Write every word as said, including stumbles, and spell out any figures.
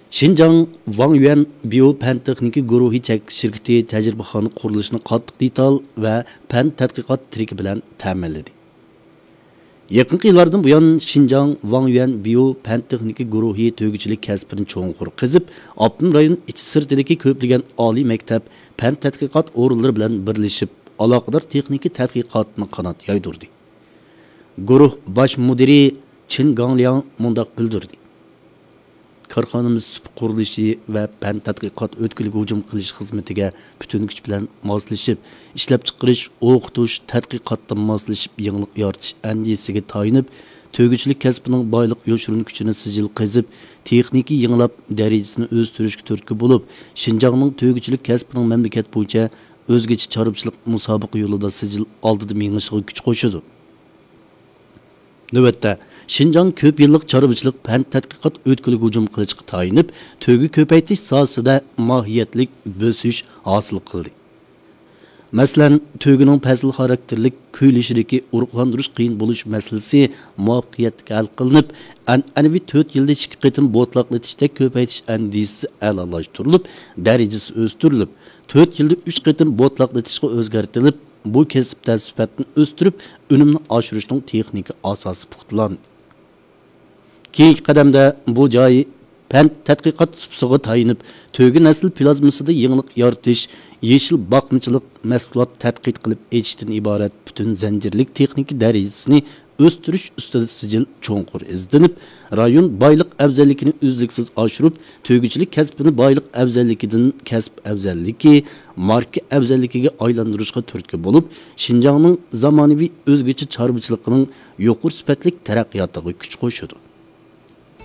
شىنجاڭ ۋاڭيۈەن بىيو پەن تېخنىكا گۇرۇھى چەكلىك شىركىتى تەجرىبىخانا قۇرۇلۇشىنى قاتتىق دېتال ۋە پەن تەتقىقات تىرىكى بىلەن تەمىنلىدى. يېقىنقى يىللاردىن بۇيان، شىنجاڭ ۋاڭيۈەن بىيو پەن تېخنىكا گۇرۇھى تۆگىچىلىك كەسپىنى چوڭقۇر قېزىپ، ئاپتونوم رايون ئىچى سىرتىدىكى كۆپلىگەن ئالىي مەكتەپ، پەن تەتقىقات ئورۇنلىرى بىلەن بىرلىشىپ، ئالاقىدار تېخنىكا تەتقىقاتنى قانات يايدۇردى. گۇرۇھ باش مۇدىرى چېن گاڭلياڭ مۇنداق بىلدۈردى: كارخانىمىز سۇپا قۇرۇلۇشى ۋە پەن تەتقىقات ئۆتكىلىگە ھۇجۇم قىلىش خىزمىتىگە پۈتۈن كۈچ بىلەن ماسلىشىپ، ئىشلەپچىقىرىش، ئوقۇتۇش، تەتقىقاتتا ماسلىشىپ، يېڭىلىق يارىتىش ئەندىزىسىگە تايىنىپ، تۆگىچىلىك كەسپىنىڭ بايلىق يوشۇرۇن كۈچىنى سىجىل قېزىپ، تېخنىكا يېڭىلاپ، دەرىجىسىنى ئۆستۈرۈشكە تۈرتكە بولۇپ، شىنجاڭنىڭ تۆگىچىلىك كەسپىنىڭ مەملىكەت بويىچە ئۆزگىچە چارۋىچىلىق مۇسابىقە يولىدا سىجىل ئالدىدا مېڭىشىغا كۈچ قوشىدۇ. نۆۋەتتە، شىنجاڭ كۆپ يىللىق چارۋىچىلىق پەن تەتقىقات ئۆتكىلىگە ھۇجۇم قىلىشقا تايىنىپ، تۆگە كۆپەيتىش ساھەسىدە ماھىيەتلىك بۆسۈش ھاسىل قىلدى. مەسىلەن، تۆگىنىڭ پەسىل خاراكتېرلىك كۈيلىشىدىكى ئۇرۇقلاندۇرۇش قىيىن بولۇش مەسىلىسى مۇۋەپپەقىيەتلىك ھەل قىلىنىپ، ئەنئەنىۋى تۆت يىلدا ئىككى قېتىم بوتىلاقلىتىشتەك كۆپەيتىش ئەندىزىسى ئەلالاشتۇرۇلۇپ، دەرىجىسى ئۆستۈرۈلۈپ، تۆت يىلدا ئۈچ قېتىم بوتىلاقلىتىشقا ئۆزگەرتىلىپ، بۇ كەسىپتە سۈپەتنى ئۆستۈرۈپ، ئۈنۈمنى ئاشۇرۇشنىڭ تېخنىكا ئاساسى پۇختىلاندى. كېيىنكى قەدەمدە بۇ جاي پەن تەتقىقات سۇپىسىغا تايىنىپ، تۆگە نەسىل پلازمىسىدا يېڭىلىق يارىتىش، يېشىل باقمىچىلىق، مەھسۇلات تەتقىق قىلىپ ئېچىشتىن ئىبارەت پۈتۈن زەنجىرلىك تېخنىكا دەرىجىسىنى ئۆستۈرۈش ئۈستىدە سىجىل چوڭقۇر ئىزدىنىپ، رايون بايلىق ئەۋزەللىكىنى ئۈزلۈكسىز ئاشۇرۇپ، تۆگىچىلىك كەسپىنى بايلىق ئەۋزەللىكىدىن كەسىپ ئەۋزەللىكى، ماركا ئەۋزەللىكىگە ئايلاندۇرۇشقا تۈرتكە بولۇپ، شىنجاڭنىڭ زامانىۋى ئۆزگىچە چارۋىچىلىقىنىڭ يۇقىرى سۈپەتلىك تەرەققىياتىغا كۈچ قوشىدۇ.